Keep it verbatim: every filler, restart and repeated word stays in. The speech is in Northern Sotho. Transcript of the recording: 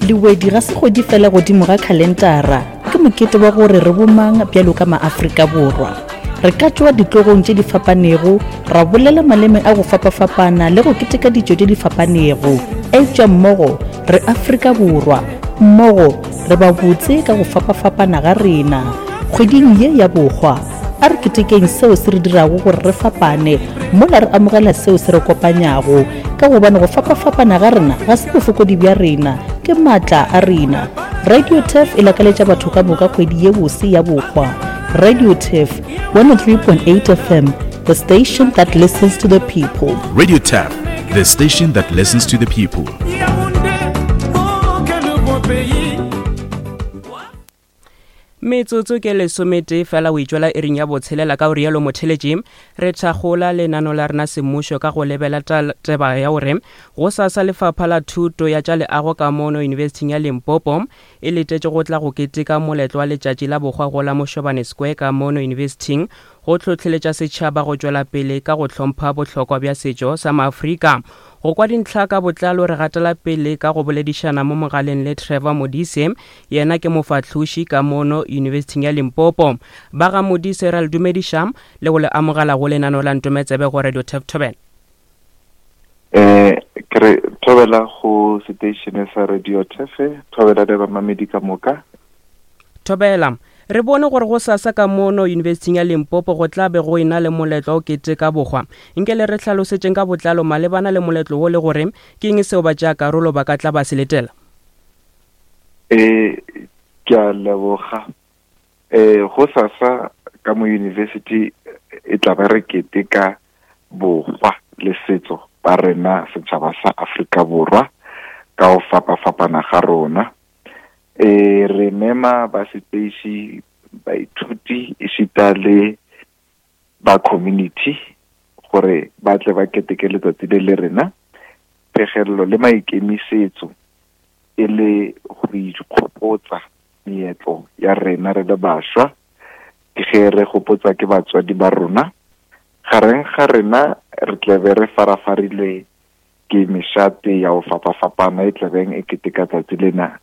Lewedi ga se kgwedi fela godimo ga khalentara, ke mokete wa gore re bomang bjalo ka maAfrika Borwa. Re ka tšwa ditlogong tše di fapanego, ra bolela maleme a go fapafapana le go keteka ditšo tše di fapanego, eupša mmogo re Afrika Borwa, mmogo re ba botse ka go fapafapana ga rena. Kgweding ye ya bohwa, a re ketekeng seo se re dirago gore re fapane mola re amogela seo se re kopanyago, ka gobane go fapafapana ga rena ga se bofokodi bja rena, ke maatla a rena. Radio Turf e lakaletša batho ka moka kgwedi ye bose ya bohwa. Radio Turf, one oh three point eight F M, the station that listens to the people. Radio Turf, the station that listens to the people. Metsotso ke lesometee fela o itšwela iring ya botshelela ka o rialo motheletši. Re thakgola lenano la rena semmušo ka go lebela taba ya gore go sasa lefapha la thuto ya tša leago ka mono Yunibesithing ya Limpopo e letetše go tla go keteka moletlo wa letšatši la bohwa go la Mošobane Square ka mono Yunibesithing go hlohleletša setšhaba go tšwela pele ka go hlompha bohlokwa bja setšo sa maAfrika. Go kwa dintlha ka botlalo re gatela pele ka go boledišana mo mogaleng le Trevor Modise, yena ke mofahloši ka mono Yunibesithing ya Limpopo. Ba ga Modise ra le dumediša le go le amogela go lenano la Ntometsebe go Radio Turf Thobela. Eh, ke re thobela go station sa Radio Turf, thobela le bamamedi ka moka. Thobela, re bone gore go sasa ka mono Yunibesithing ya Limpopo go tla be go ena le moletlo o keteka bohwa. Nke le re hlalosetšeng ka botlalo malebana le moletlo wo le gore ke eng seo ba tšea karolo ba ka tla ba se letela? Eh, ke a leboga. Eh, go sasa ka mo university e tla ba re keteka bohwa le setso ba rena setšhaba sa Afrika Borwa ka go fapafapana ga rona. Eh, re mema ba seteiši, baithuti esita le ba community gore ba tle ba keteke letsatsi le le rena. Phegello le maikemisetso e le go ikgopotsa meetlo ya rena re le bašwa, ke ge re gopotsa ke batswadi ba rona. Gareng ga rena re tle be re farafarilwe ke mešate ya go fapafapana e tlabeng e keteka tsatsi lena.